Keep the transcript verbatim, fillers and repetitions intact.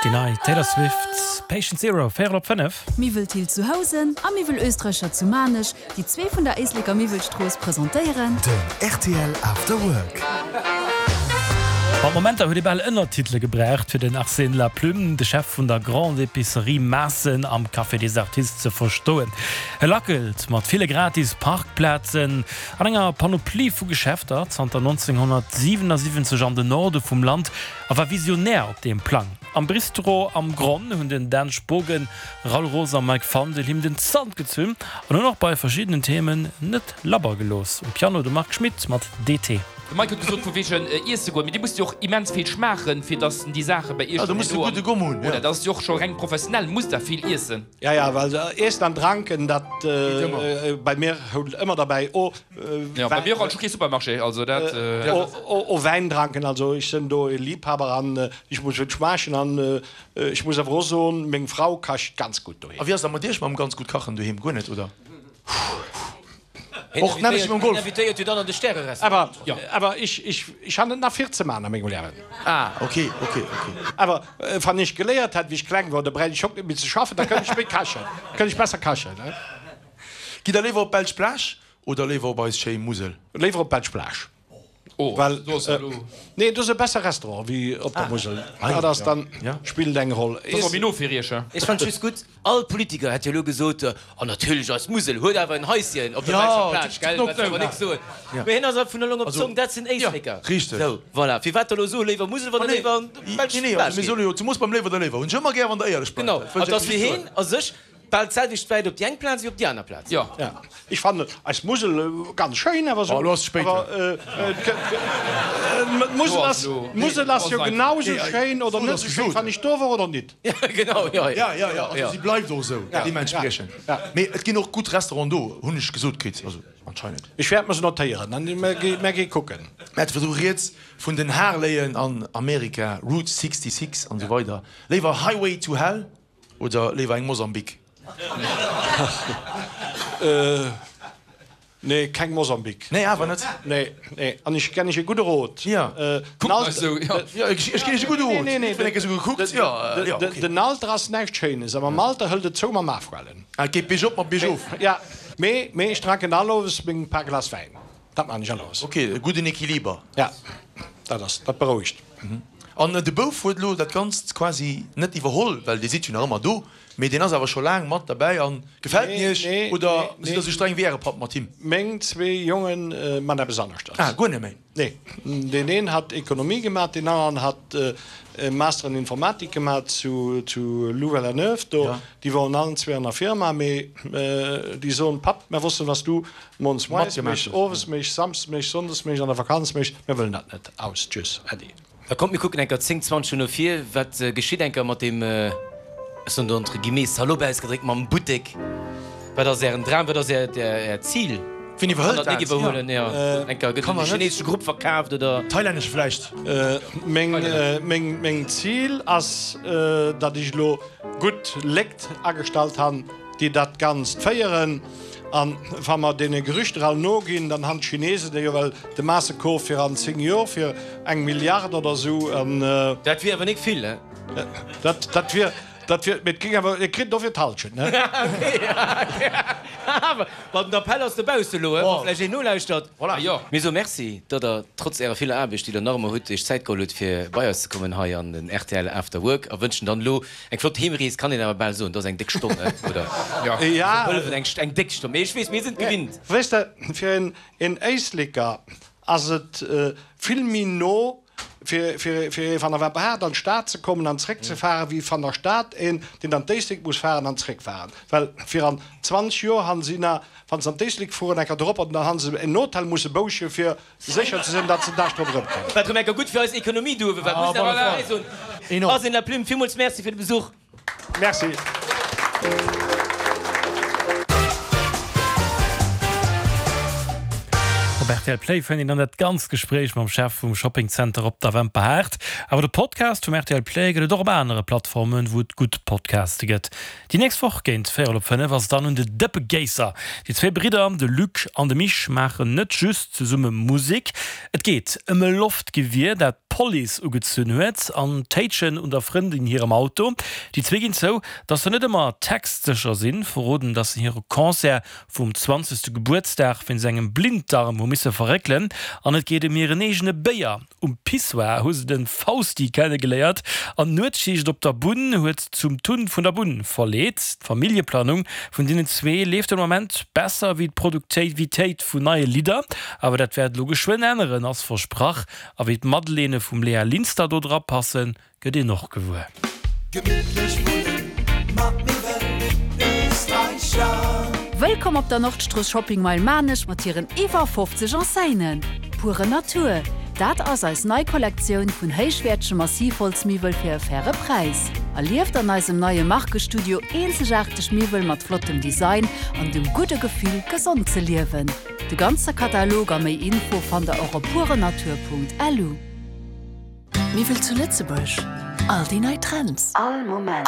Déi nei Taylor Swift, Patient Zero, véierel op fënnef. Miwwel Thill zu Housen a Miwwel Österreicher zu Maarnech, déi zwee vun der Éisleker Miwwelstrooss presentéieren. Den rtl After Work. Mat Momenter huet ee bal Ënnertitele gebraucht, fir den Arsène Laplume, de Chef vun der Grande Épicerie Maassen am Café des Artistes ze verstoen. E lackelt mat ville gratis Parkplazen an enger Panoplie vu Geschäfter zanter nonzénghonnertsiwenasiwwenzeg an den Norde vum Land a war Visionär op deem Plang. Am Bistro am Gronn hunn den Dan Spogen, Raoul Roos a Mike Fandel him den Zant gezunn an hunn och bei verschiddenen Themen net labber gelooss. Um Piano de Marc Schmitt mat D T. De Mike huet gesot vu wegen iesse goen, mee dir musst jo och immens vill schmaachen, fir dass déi Saache bei iech Ah, do dann muss de herno gudde Gomm hunn, ja. Oder dat ass jo och scho reng professionell, musst der vill iessen. Ja, ja, well Iessen an Dranken, dat Geet ëmmer. bei mir hoult ëmmer derbäi. O Ja, bei mir och, ech hu kee Supermarché, also dat. O Wäin dranken, also ech sinn do e Liebhaber an ech muss et schmaachen an ech muss awer och soen, meng Frau kacht ganz gutt doheem. A wéi ass dat mat iech mam ganz gutt kachen doheem? Guer net, oder? Hien Och nämmlecht wéi mam Golf. invitéiert jo dann an de Stärerestaurant. Awer, awer ech, ech, ech han net nach vill ze man a mengem Liewen. Ah, okay, okay, okay. Awer wann ech geléiert hätt, wéi ech kleng wor, da bräicht ech och net méi ze schaffen, da kënnt ech méi kachen, kënnt ech besser kachen, ne? Gitt der léiwer op d'belsch Plage oder léiwer op eis schéi Musel? Léiwer op d'belsch Plage. Oh, Well, do ass elo. Nee, do ass e besser Restaurant wéi op der Musel. Dat ass dann, spillt eng Roll. Dat ass och méi no fir Iech, he? Ech fannen et just gutt, all Politiker hätt jo elo gesot, oh natierlech eis Musel huet awer en Haischen op der belscher Plage, gell, wat soll mer nix soen. Mee hien ass awer vun elong op d'Zong, dat sinn Éisleker. Richteg. Sou, voilà. Firwat da elo soe léiwer Musel, wann der léiwer an d'belsch Nee, nee, Plage also mir geet? solle jo zemoos beim léiwer der léiwer hunn ech ëmmer gär, wann der éierlech bleift. Genau. Dat wëll An ech et ass just fir soen. hien a sech bal d'selwecht wäit op déi eng Plaz wéi op déi aner Plaz. Jo. Ja, ech fannen eis Musel ganz schéin, awer Oh, elo ass et spéit. Awer d'Musel ass, d'Musel ass jo genau esou schéin oder net esou schéin, wann ech do wor oder nit. Ja, genau, jo, jo. Ja, ja, ja, also si bleift och esou deementspriechend. Mee et ginn och gutt Restauranten do, hunn ech gesot kritt, also anscheinend. Ech wäert mer se notéieren an mer gi kucken. Mir hate virdru rieds vun den Harleyen an Amerika, Route sixty-six an esou weider. Léiwer Highway to Hell oder léiwer eng Mosambik? Nee, keng Mosambik. Nee, awer net? Nee, nee. An ech ginn iech e gudde Rot. Ja. Kuckt eis esou, jo. Jo, ech ginn iech e gudde Rot. Nee, nee, Ech hunn eng Kéier esou gekuckt, jo, jo, okay. Den Alter ass näischt Schéines, awer mam Alter hëlt et zou mam Afhuelen. Ah, et geet biergop mat biergof. Ja, mee, mee ech dranken all Owes meng paar Glas Wäin. Dat man ech all Owes. Okay, e gudden Equiliber. Ja, dat ass, dat berouegt. An de Bouf huet elo dat Ganzt quasi net iwwerholl, well Dir sidd jo nach ëmmer do, mee deen ass awer scho laang mat derbäi. A gefält en Iech oder sidd Der esou streng wéi Äre Papp mat him? Meng zwee Jongen man eppes aneschters. Ah, guer net méi? Nee, deen een hat Ekonomie gemat, deen aneren hat e Master an Informatik gemat zu Louvain-la-Neuve do. Déi woren allen zwee an der Firma, mee déi soen, Papp, mer wossen, was du moies méchs, owes méchs, samsdes méchs, sonndes méchs, an der Vakanz méchs, mer wëllen dat net. Aus, tschüss, äddi. Da kommt, mir kucken enker zéng, zwanzeg no vir, wat geschitt enker mat deem, ech soen do entre guillemets, salopp ausgedréckt, mam Buttek. Wat ass Ären Dram, wat ass Äert Zil? Wien iwwerhëlt dat? Net iwwerhuelen, jo. Enker gëtt en de chinesesche Grupp verkaaft oder? Thailännesche vläicht. Meng Zil ass, datt ech elo gutt Léckt agestallt han, déi dat Ganzt féieren. An wa mer deene Gerüchter all noginn, dann han d'Chinesen jo well de Maassekof fir an zéng Jor fir eng Milliard oder esou. An. Dat wier awer nik vill, he? Dat, dat wier, dat wier, mee et géing awer, et kritt dofir d'Halschent, ne? Awer, ma den Appell ass dobausse elo, he, wa vläicht een nolauschtert. Voilà. Jo. Mir soe Merci, datt Der trotz Ärer viller Aarbecht, déi Der nach ëmmer hutt, Iech Zäit geholl hutt, fir bei eis ze kommen hei an den rtl After Work a wënschen dann elo Eng flott Heemrees kann een awer bal soen, dat ass eng déck Stonn, net, oder? Jo. Ja. Hëllefen, eng, eng déck Stonn. Mee ech weess, mir sinn et gewinnt. Weess de, fir een, een Éisleker ass et vill méi no, fir, fir, fir ee van der Wapperhaart an d'Stad ze kommen an zréckzefaren, wéi van der Stad een, deen an d'Éislek muss fahren an zréckfahren. Well fir an zwanzeg Joer han si na, wann se an d'Éislek fueren, enker drop an dann han se en Hotel musse bouche fir sécher ze sinn, datt se den Dag drop erëmkommen. Wat rëm enker gutt fir eis Ekonomie do uewe war, muss een awer dobäi soen. Arsène Laplume, villmools Merci fir de Besuch. Merci. Op rtl Play fënnt een dann dat ganzt Gespréich mam Chef vum Shoppingzenter op der Wemperhaart. Awer de Podcast vum rtl Play gëtt et och op anere Plattformen, wou et gutt Podcaste gëtt. Déi nächst Woch géint véierel op fënnef ass et dann un de Dëppegéisser. Déi zwee Bridder, de Luc an de Mich, maachen net just zesumme Musek. Et geet ëm e Loftgewier, dat d'Police ugezunn huet, an d'Téitschen un der Frëndin hirem Auto. Déi zwee ginn zou, datt se net ëmmer textsécher sinn, verroden, datt se hire Concert vum zwanzegste Gebuertsdag wéinst engem Blinddarm hu misse verréckelen an et geet ëm hiren eegene Béier. Um Pissoir hu se de Fausti kennegeléiert an d'Nuetsschicht op der Bunn huet zum Tun vun der Bunn verleet. D'Familljeplanung vun deenen zwee leeft den Moment besser wéi d'Produktivitéit vun neie Lidder, awer dat wäert elo geschwënn änneren, ass versprach. A wéi d'Madeleine vum Léa Linster do dra passen, gëtt een och gewuer. Gemittlech wunnen mat Miwwel Österreicher. Wëllkomm op der Nordstrooss Shopping Mile Maarnech mat hiren iwwer fofzeg Enseignen. Pure Natur, dat ass eis nei Kollektioun vun héichwäertege Massivholzmiwwel fir e faire Präis. Erlieft an eisem neie Markestudio eenzegaarteg Miwwel mat flottem Design an dem gudde Gefill, gesond ze liewen. De ganze Katalog a méi Info fannt der och op purenatur.lu. Miwwel zu Lëtzebuerg, all déi nei Trends, all Moment.